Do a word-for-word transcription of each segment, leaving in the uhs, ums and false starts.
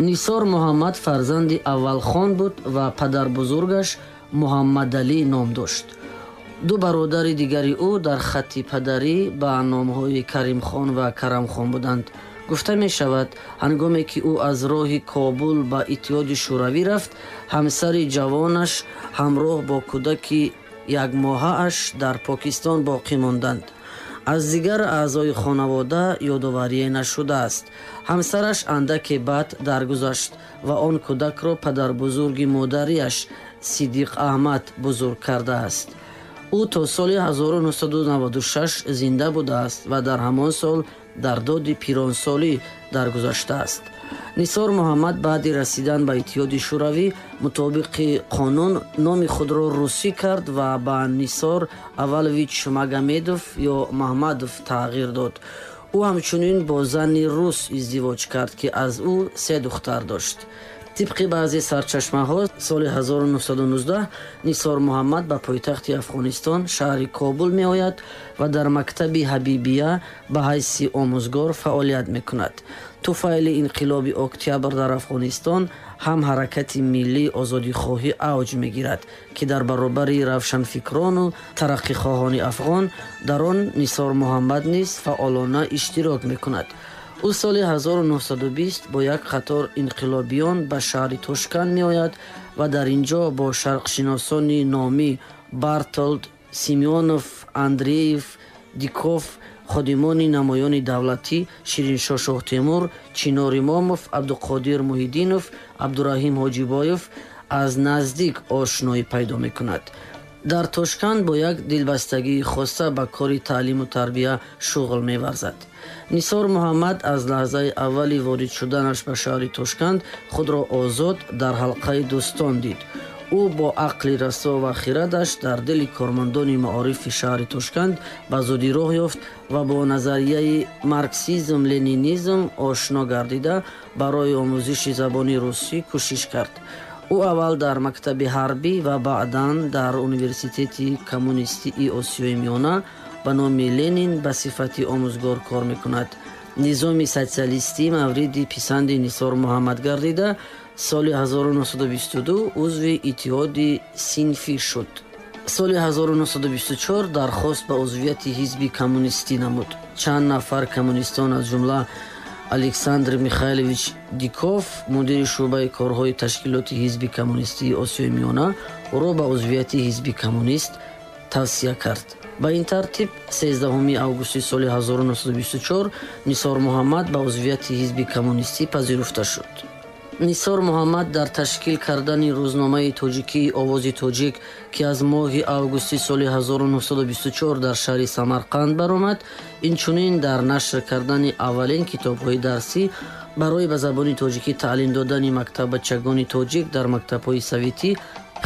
Нисор Муҳаммад фарзанди аввалхон буд ва падарбузургаш Муҳаммадалӣ ном дошт. Ду бародари дигари ӯ дар хатти падарӣ ба номҳои Каримхон ва Карамхон буданд. Гуфта мешавад, ҳангоме ки ӯ аз роҳи Кобул ба Иттиҳоди Шӯравӣ рафт, ҳамсари ҷавонаш ҳамроҳ бо кӯдаки якмоҳааш дар Покистон боқӣ монданд. Аз дигар аъзои хонавода ёдоварие нашудааст. Ҳамсараш андаке баъд даргузашт ва он кӯдакро падарбузурги модариаш Сидиқ Аҳмад бузург кардааст. Ӯ то соли ҳазору нӯҳсаду наваду шаш зинда будааст ва дар ҳамон сол дар доди пиронсолӣ даргузаштааст. Нисор Муҳаммад баъди расидан ба Иттиҳоди Шӯравӣ мутобиқи қонун номи худро русӣ кард ва ба Нисор Аввалович Магомедов ё Маҳмадов тағйир дод. Ӯ ҳамчунин бо зани рус издивоҷ кард, ки аз ӯ се духтар дошт. Тибқи баъзе сарчашмаҳо, соли ҳазору нӯҳсаду нуздаҳ Нисор Муҳаммад ба пойтахти Афғонистон, шаҳри Кобул меояд ва дар мактаби Ҳабибия ба ҳайси омӯзгор фаъолият мекунад. Туфайли инқилоби октябр дар Афғонистон ҳам ҳаракати миллии озодихоҳӣ авҷ мегирад, ки дар баробари равшанфикрону тараққихоҳони афғон дар он Нисор Муҳаммад низ фаъолона иштирок мекунад. Ӯ соли ҳазору нӯҳсаду бист бо як қатор инқилобиён ба шаҳри Тошканд меояд ва дар ин ҷо бо шарқшиносони номӣ Бартолд, Симеонов, Андреев, Диков, ходимони намоёни давлатӣ Шириншоҳ Шоҳтемур, Чинор Имомов, Абдуқодир Муҳиддинов, Абдураҳим Ҳоҷибоев аз наздик ошноӣ пайдо мекунад. Дар Тошканд бо як дилбастагии хоса ба кори таълиму тарбия шуғл меварзад. Нисор Муҳаммад аз лаҳзаи аввали ворид шуданаш ба шаҳри Тошканд худро озод дар ҳалқаи дӯстон дид. Ӯ бо ақли расо ва хирадаш дар дили кормандони маорифи шаҳри Тошканд ба зудӣ роҳ ёфт ва бо назарияи марксизм-ленинизм ошно гардида барои омӯзиши забони русӣ кӯшиш кард. Ӯ аввал дар мактаби ҳарбӣ ва баъдан дар Университети коммунистии Осиёи Миёна ба номи Ленин ба сифати омӯзгор кор мекунад. Низоми социалистӣ мавриди писанди Нисор Муҳаммад гардида, соли ҳазору нӯҳсаду бисту ду узви Иттиҳоди синфӣ шуд. Соли ҳазору нӯҳсаду бисту чор дархост ба узвияти ҳизби коммунистӣ намуд. Чанд нафар коммунистон, аз ҷумла Александр Михайлович Диков, мудири шӯъбаи корҳои ташкилоти ҳизби коммунистии Осиёи Миёна, ӯро ба узвияти ҳизби коммунист тавсия кард. Ба ин тартиб сездаҳуми августи соли ҳазору нӯҳсаду бисту чор Нисор Муҳаммад ба узвияти ҳизби коммунистӣ пазируфта шуд. Нисор Муҳаммад дар ташкил кардани рӯзномаи тоҷикии Овози Тоҷик, ки аз моҳи августи соли ҳазору нӯҳсаду бисту чор дар шаҳри Самарқанд баромад, инчунин дар нашр кардани аввалин китобҳои дарсӣ барои ба забони тоҷикӣ таълим додани мактаббачагони тоҷик дар мактабҳои советӣ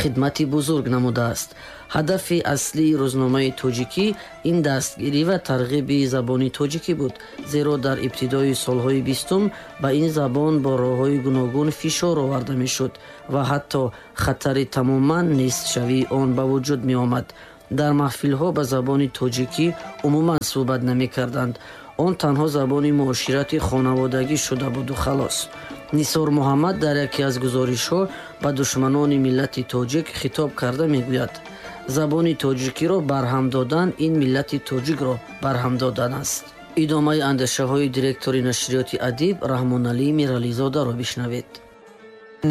хидмати бузург намудааст. Ҳадафи аслии рӯзномаи тоҷикӣ ин дастгирӣ ва тарғиби забони тоҷикӣ буд, зеро дар ибтидои солҳои бистум ба ин забон бо роҳҳои гуногун фишор оварда мешуд ва ҳатто хатари тамоман нестшавии он ба вуҷуд меомад. Дар маҳфилҳо ба забони тоҷикӣ умуман суҳбат намекарданд. Он танҳо забони муоширати хонаводагӣ шуда буду халос. Нисор Муҳаммад дар яке аз гузоришҳо ба душманони миллати тоҷик хитоб карда мегӯяд: забони тоҷикиро барҳам додан ин миллати тоҷикро барҳам додан аст. Идомаи андешаҳои директори нашриёти Адиб Раҳмоналӣ Мирализодаро бишнавед.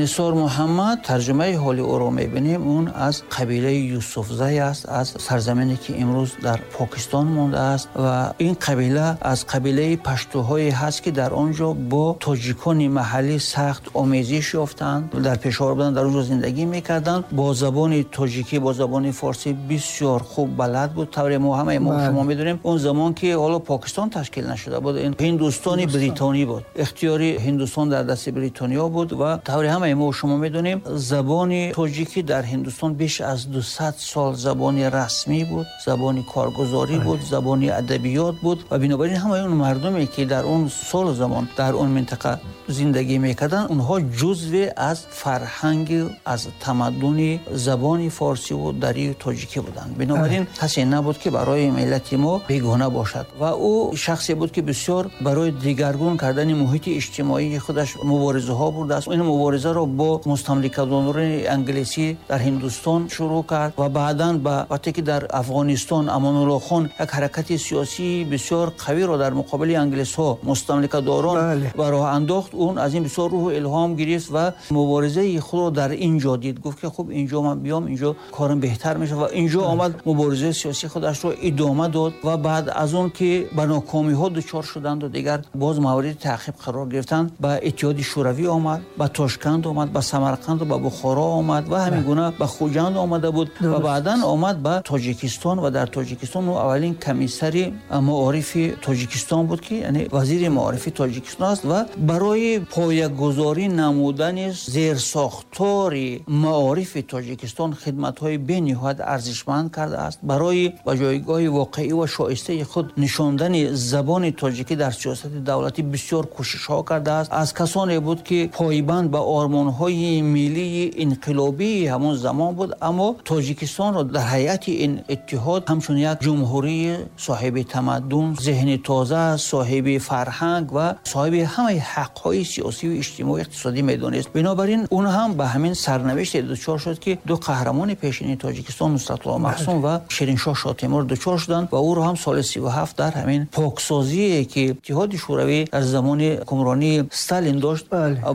Нисор Муҳаммад тарҷумаи ҳоли ӯро мебинем, он аз қабилаи Юсуфзай аст, аз сарзамине ки имрӯз дар Покистон мондааст ва ин қабила аз қабилаи паштуҳое ҳаст, ки дар он ҷо бо тоҷикони маҳаллӣ сахт омезиш ёфтанд, дар Пешовар буданд, дар он ҷо зиндагӣ мекарданд. Бо забони тоҷикӣ, бо забони форсӣ бисёр хуб балад буд. Тавре мо ҳамаи мо шумо медонем, он замон ки ҳоло Покистон ташкил нашуда буд, ин Ҳиндустони Бритонӣ буд, ихтиёри Ҳиндустон дар дасти Бритониё буд ва тавре ҳамаи мо шумо медонем, забони тоҷикӣ дар Ҳиндустон беш аз дусад сол забони расмӣ буд, забони коргузорӣ буд, забони адабиёт буд ва бинобар ин ҳамаи он мардуме ки дар он сол замон дар он минтақа зиндагӣ мекарданд, онҳо ҷузве аз фарҳанг, аз тамаддуни забони форсӣ ва дарии тоҷикӣ буданд. Бинобар ин касе набуд ки барои миллати мо бегона бошад ва ӯ шахсе буд ки бисёр барои дигаргун кардани муҳити иҷтимоии худаш муборизаҳо бурдааст. Ин муборизаро бо мустамликадорони англисӣ дар Ҳиндустон шурӯъ кард ва баъдан ба вақте ки дар Афғонистон Амонулло хон як ҳаракати сиёсии бисёр қавиро дар муқобили англисҳо, мустамликадорон ба роҳ андохт, он аз ин бисёр рӯҳу илҳом гирифт ва муборизаи худро дар ин ҷо дид. Гуфт ки хуб, инҷо ман биём, инҷо корам беҳтар мешавад ва инҷо омад муборизаи сиёсии худашро идома дод ва баъд аз он ки ба нокомиҳо дучор шуданд ва дигар боз мавриди таъқиб қарор гирифтанд, ба Иттиҳоди Шӯравӣ омад, ба Тошканд омад, ба Самарқанд ва ба Бухоро омад ва ҳамин гуна ба Хуҷанд омада буд ва баъдан омад ба Тоҷикистон ва дар Тоҷикистон ӯ аввалин комиссари маорифи Тоҷикистон буд ки яъне вазири маорифи Тоҷикистон аст ва барои поягузорӣ намудани зерсохтори маорифи Тоҷикистон хидматҳои бениҳоят арзишманд кардааст. Барои ба ҷойгоҳи воқеӣ ва шоистаи худ нишондани забони тоҷикӣ дар сиёсати давлатӣ бисёр кӯшишҳо кардааст. Аз касоне буд ки пойбанд ба ормонҳои миллии инқилобии ҳамон замон буд, аммо Тоҷикистонро дар ҳайати ин иттиҳод ҳамчун як ҷумҳурии соҳиби тамаддун, зеҳни тоза, соҳиби фарҳанг ва соҳиби ҳамаи ҳақҳои сиёсӣ ва иҷтимоӣ иқтисодӣ медонист. Бинобар ин он ҳам ба ҳамин сарнавишт дучор шуд ки ду қаҳрамони пешини Тоҷикистон, Нусратулло Маҳсум ва Шириншоҳ Шотемур, дучор шуданд ва ӯро ҳам соли сию ҳафт дар ҳамин поксозие ки Иттиҳоди Шӯравӣ дар замони ҳукмронии Сталин дошт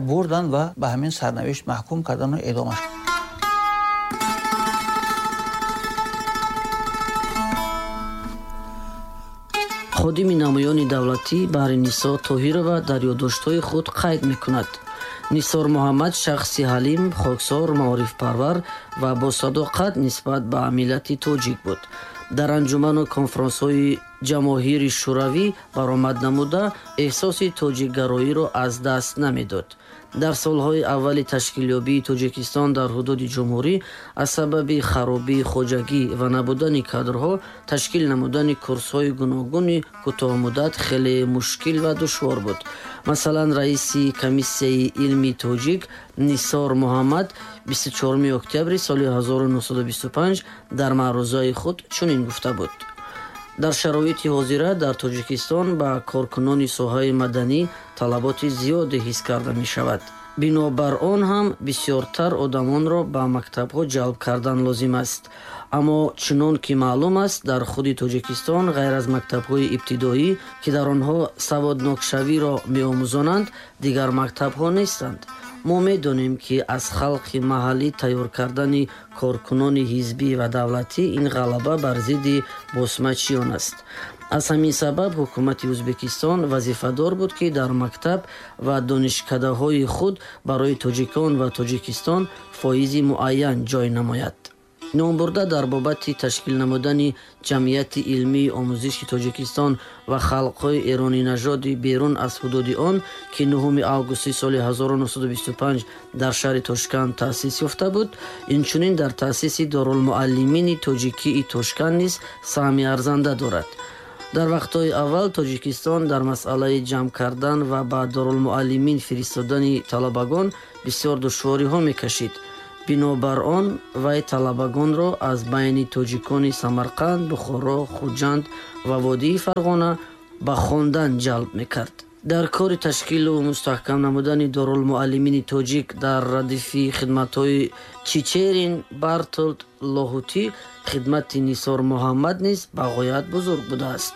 бурданд ва ба ҳамин сарнавишт маҳкум карданд ва эъдомаш. Ходими намоёни давлатӣ Баҳринисо Тоҳирова дар ёддоштҳои худ қайд мекунад: Нисор Муҳаммад шахси ҳалим, хоксор, маорифпарвар ва босадоқат нисбат ба миллати тоҷик буд. Дар анҷуману конфронсҳои ҷамоҳири Шӯравӣ баромад намуда, эҳсоси тоҷикгароиро аз даст намедод. Дар солҳои аввали ташкилёбии Тоҷикистон дар ҳудуди ҷумҳурӣ аз сабаби харобии хоҷагӣ ва набудани кадрҳо ташкил намудани курсҳои гуногуни кӯтоҳмуддат хеле мушкил ва душвор буд. Масалан, раиси комиссияи илми тоҷик Нисор Муҳаммад бисту чоруми октябри соли ҳазору нӯҳсаду бисту панҷ дар маърузаи худ чунин гуфта буд: дар шароити ҳозира дар Тоҷикистон ба коркунони соҳаи маданӣ талаботи зиёде ҳис карда мешавад. Бинобар он ҳам бисёртар одамонро ба мактабҳо ҷалб кардан лозим аст. Аммо чунон ки маълум аст, дар худи Тоҷикистон ғайр аз мактабҳои ибтидоӣ, ки дар онҳо саводнокшавиро меомӯзонанд, дигар мактабҳо нестанд. Мо медонем, ки аз халқи маҳаллӣ тайёр кардани коркунони ҳизбӣ ва давлатӣ ин ғалаба бар зидди босмачиён аст. Аз ҳамин сабаб ҳукумати Ӯзбекистон вазифадор буд, ки дар мактаб ва донишкадаҳои худ барои тоҷикон ва Тоҷикистон фоизи муайян ҷой намояд. Номбурда дар бобати ташкил намудани ҷамъияти илмии омӯзиши Тоҷикистон ва халқҳои эронинажоди берун аз ҳудуди он, ки нӯҳуми августи соли ҳазору нӯҳсаду бисту панҷ дар шаҳри Тошканд таъсис ёфта буд, инчунин дар таъсиси Дорулмуаллимини тоҷикии Тошканд низ саҳми арзанда дорад. Дар вақтҳои аввал Тоҷикистон дар масъалаи ҷамъ кардан ва ба Дорулмуаллимин фиристодани талабагон бисёр душвориҳо мекашид. Бинобар он вай талабагонро аз байни тоҷикони Самарқанд, Бухоро, Хуҷанд ва водии Фарғона ба хондан ҷалб мекард. Дар кори ташкилу мустаҳкам намудани Дорулмуаллимини тоҷик дар радифи хидматҳои Чичерин, Бартолд, Лоҳутӣ хидмати Нисор Муҳаммад низ ба ғоят бузург будааст.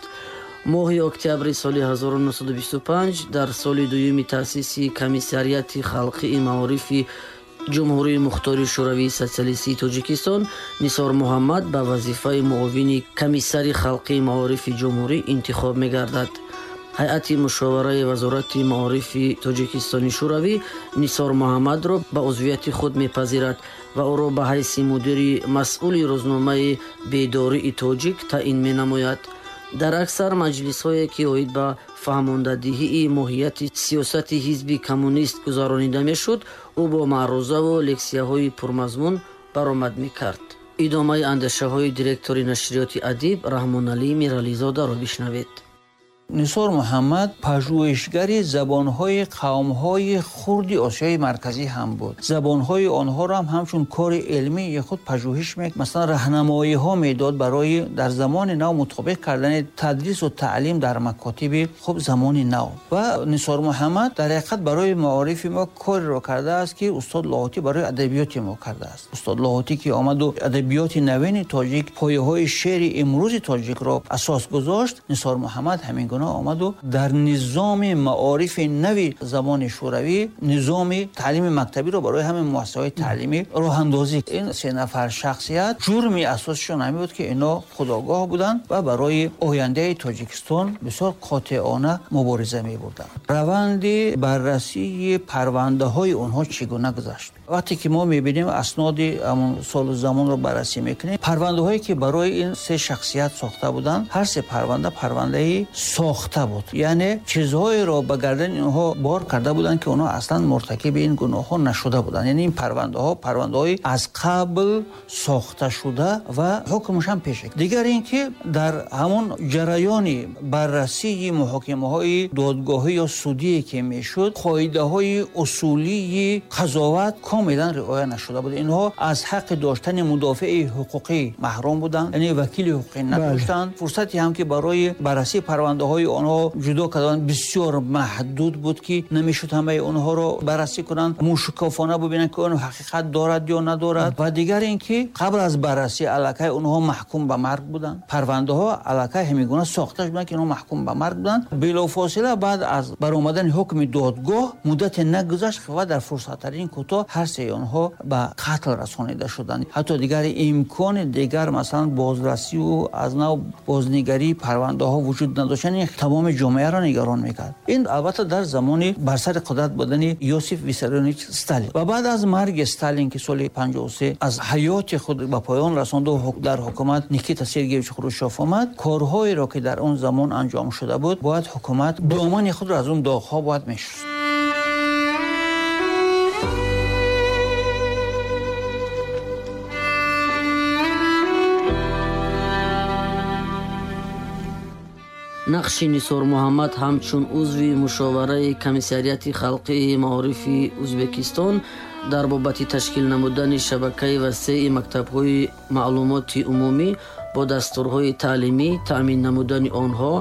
Моҳи октябри соли ҳазору нӯҳсаду бисту панҷ дар соли дуюми таъсиси Комиссариати халқии маорифи Ҷумҳурии Мухтори Шӯравии Социалистии Тоҷикистон Нисор Муҳаммад ба вазифаи муовини комиссари халқии маорифи ҷумҳурӣ интихоб мегардад. Ҳайати мушовараи Вазорати маорифи Тоҷикистони Шӯравӣ Нисор Муҳаммадро ба узвияти худ мепазирад ва ӯро ба ҳайси мудири масъули рӯзномаи Бедории тоҷик таъин менамояд. Дар аксар маҷлисҳое, ки оид ба фаҳмондадиҳии моҳияти сиёсати ҳизби коммунист гузаронида мешуд, ӯ бо маърузаву лексияҳои пурмазмун баромад мекард. Идомаи андешаҳои директори нашриёти «Адиб» Раҳмоналӣ Мирализодаро бишнавед. Нисор Муҳаммад пажӯҳишгари забонҳои қавмҳои хурди Осиёи Марказӣ ҳам буд. Забонҳои онҳоро ҳам ҳамчун кори илмии худ пажӯҳиш мекард. Масалан, раҳнамоиҳо медод барои дар замони нав мутобиқ кардани тадрису таълим дар макотиби хуб замони нав. Ва Нисор Муҳаммад дар ҳақиқат барои маорифи мо кореро кардааст, ки устод Лоҳутӣ барои адабиёти мо кардааст. Устод Лоҳутӣ ки омаду адабиёти навини тоҷик, пояҳои шеъри имрӯзи тоҷикро асос гузошт, Нисор Муҳаммад ҳамин гуна омаду дар низоми маорифи нави замони шӯравӣ низоми таълими мактабиро барои ҳамин муассисаҳои таълимӣ роҳандозӣ. Ин се нафар шахсият ҷурми асосишон ҳамин буд, ки ино худогоҳ буданд ва барои ояндаи Тоҷикистон бисёр қотеона мубориза мебурданд. Раванди баррасии парвандаҳои онҳо чӣ гуна гузашт? Вақте ки мо мебинем асноди ҳамон солу замонро баррасӣ мекунем, парвандаҳое ки барои ин се шахсият сохта буданд, ҳар се парванда парвандаи сохта буд. Яъне чизҳоеро ба гардани онҳо бор карда буданд, ки онҳо аслан муртакиби ин гуноҳҳо нашуда буданд. Яъне ин парвандаҳо парвандаҳои аз қабл сохта шуда ва ҳукмаш ҳам пеш. Дигар ин ки дар ҳамон ҷараёни баррасии муҳокимаҳои додгоҳӣ ё судие ки мешуд, қоидаҳои усулии қазоват комилан риоя нашуда буд. Инҳо аз ҳаққи доштани мудофиаи ҳуқуқӣ маҳрум буданд, яъне вакили ҳуқуқӣ надоштанд. Фурсате ҳам ки барои баррасии парвандаҳои онҳо ҷудо карданд бисёр маҳдуд буд, ки намешуд ҳамаи онҳоро баррасӣ кунанд, мушкофона бибинанд, ки он ҳақиқат дорад ё надорад. Ва дигар ин ки қабл аз баррасӣ аллакай онҳо маҳкум ба марг буданд. Парвандаҳо аллакай ҳамин гуна сохта шуданд, ки онҳо маҳкум ба марг буданд. Билофосила баъд аз баромадани ҳукми додгоҳ муддате нагузашт ва дар фурсаттарин кӯтоҳ ҳар сеи онҳо ба қатл расонида шуданд. Ҳатто дигар имкони дигар масалан бозрасию аз нав бознигарии парвандаҳо вуҷуд надошт. Яъне тамоми ҷомеаро нигарон мекард. Ин албатта дар замони бар сари қудрат будани Иосиф Виссарионович Сталин ва баъд аз марги Сталин, ки соли панҷоҳу се аз ҳаёти худ ба поён расонду дар ҳукумат Никита Сергеевич Хрущев омад, корҳоеро ки дар он замон анҷом шуда буд, бояд ҳукумат домани худро аз он доғҳо бояд мешуст. Нақши Нисор Муҳаммад ҳамчун узви мушовараи комиссариати халқии маорифи Ӯзбекистон дар бобати ташкил намудани шабакаи васеи мактабҳои маълумоти умумӣ бо дастурҳои таълимӣ, таъмин намудани онҳо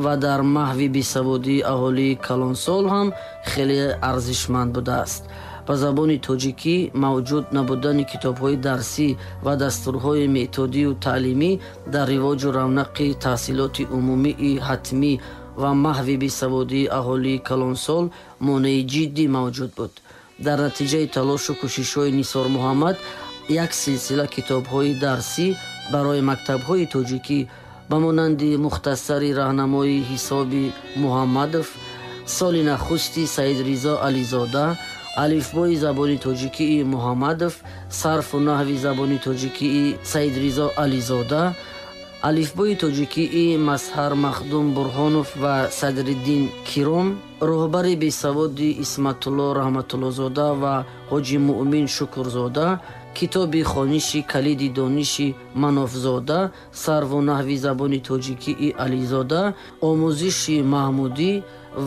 ва дар маҳви бесаводии аҳолии калонсол ҳам хеле арзишманд будааст. Ба забони тоҷикӣ мавҷуд набудани китобҳои дарсӣ ва дастурҳои методию таълимӣ дар ривоҷу равнақи таҳсилоти умумии ҳатмӣ ва маҳви бесаводии аҳолии калонсол монеи ҷиддӣ мавҷуд буд. Дар натиҷаи талошу кӯшишҳои Нисор Муҳаммад як силсила китобҳои дарсӣ барои мактабҳои тоҷикӣ ба монанди мухтасари раҳнамои ҳисоби Муҳаммадов, соли нахусти Саидризо Ализода, алифбои забони тоҷикии Муҳаммадов, сарфу наҳви забони тоҷикии Саидризо Ализода, алифбои тоҷикии Мазҳар Махдум Бурҳонов ва Садриддин Киром, роҳбари бесаводи Исматулло Раҳматуллозода ва Ҳоҷи Муъмин Шукрзода, китоби хониши калиди дониши Манофзода, сарву наҳви забони тоҷикии Ализода, омӯзиши маҳмудӣ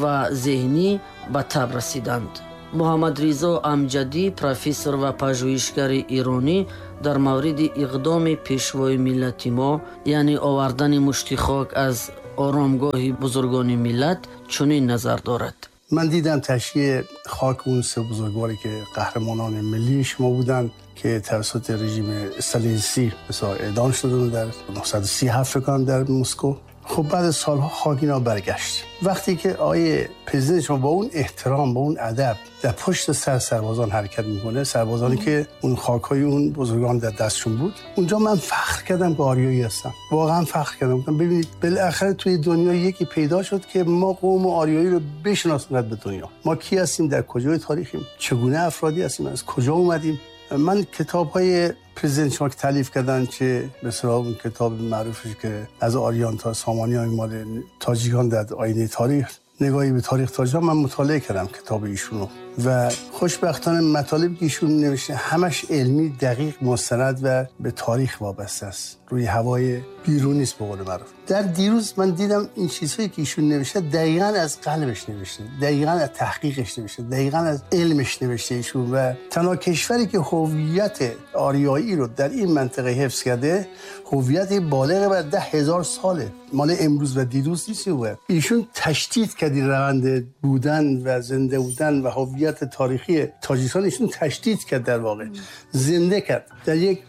ва зеҳнӣ ба таб расиданд. Муҳаммадризо Амҷадӣ, профессор ва пажӯҳишгари иронӣ, дар мавриди иқдоми пешвои миллати мо, яъне овардани мушти хок аз оромгоҳи бузургони миллат, чунин назар дорад. من دیدم تشییع خاک اون سه بزرگواری که قهرمانان ملی شما بودن که توسط رژیم استالینیستی مثلا اعدام شدن در نهصد و سی و هفت فکر کنم در مسکو. خب بعد از سالها خاک اینا برگشت. وقتی که آیه پرزیدنت شما با اون احترام با اون ادب در پشت سر سربازان حرکت میکنه، سربازانی که اون خاکای اون بزرگان در دستشون بود، اونجا من فخر کردم که آریایی هستم. واقعا فخر کردم. گفتم ببینید بالاخره توی دنیا یکی پیدا شد که ما قوم آریایی رو بشناسند به دنیا. ما کی هستیم، در کجای تاریخیم، چگونه افرادی هستیم، از کجا اومدیم. من کتاب‌های پرزیدنت شما که تالیف کردن، چه به اصطلاح اون کتاب معروفش که از آریان تا سامانیان مال تاجیکان در آینه تاریخ، نگاهی به تاریخ تاجیکان، من مطالعه کردم کتاب ایشونو و خوشبختانه مطالبی که ایشون نوشته همش علمی، دقیق، مستند و به تاریخ وابسته است، روی هوای بیرون نیست به قول معروف. در دیروز من دیدم این چیزهایی که ایشون نوشته دقیقاً از قلبش نوشته، دقیقاً از تحقیقش نوشته، دقیقاً از علمش نوشته ایشون. و تنها کشوری که هویت آریایی رو در این منطقه حفظ کرده، هویت بالغ بر ده هزار ساله، مال امروز و دیروز نیست. ایشون تشدید کرد روند بودن و زنده بودن و هویت تاریخی تاجیکستان، ایشون تشدید کرد، در واقع زنده کرد. در یک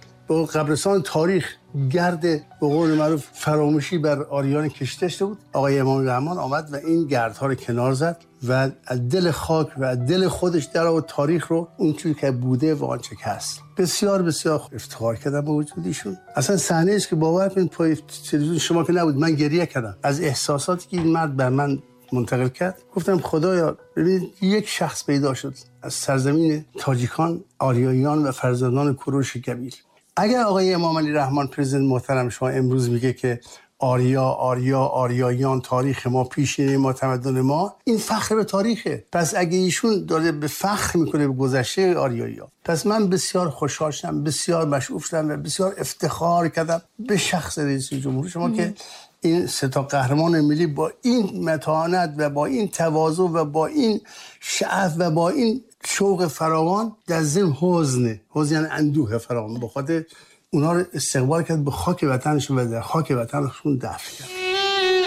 قبرستان تاریخ گرد به قول معروف فراموشی بر آریان کشته شده بود، آقای امام رحمان آمد و این گردها رو کنار زد و از دل خاک و از دل خودش در آورد تاریخ رو اونچوری که بوده و آنچه که هست. بسیار بسیار افتخار کردم با وجود ایشون. اصلا صحنه است که باور کنید پای تلویزیون شما که نبود، من گریه کردم از احساساتی که این مرد بر من منتقل کرد. گفتم خدایا ببینید یک شخص پیدا شد از سرزمین تاجیکان، آریاییان و فرزندان کوروش کبیر. اگر آقای امام علی رحمان پرزیدنت محترم شما امروز میگه که آریا آریا آریاییان تاریخ ما، پیشینه ما، تمدن ما، این فخر به تاریخه. پس اگه ایشون داره به فخر میکنه به گذشته آریایی‌ها، پس من بسیار خوشحال شدم، بسیار مشعوف شدم و بسیار افتخار کردم به شخص رئیس جمهور شما که این سه تا قهرمان ملی با این متانت و با این تواضع و با این شعف و با این شوق فراوان در ضمن حزن، حزن یعنی اندوه فراوان، به خاطر اونا رو استقبال کرد به خاک وطنشون و در خاک وطنشون دفن کرد.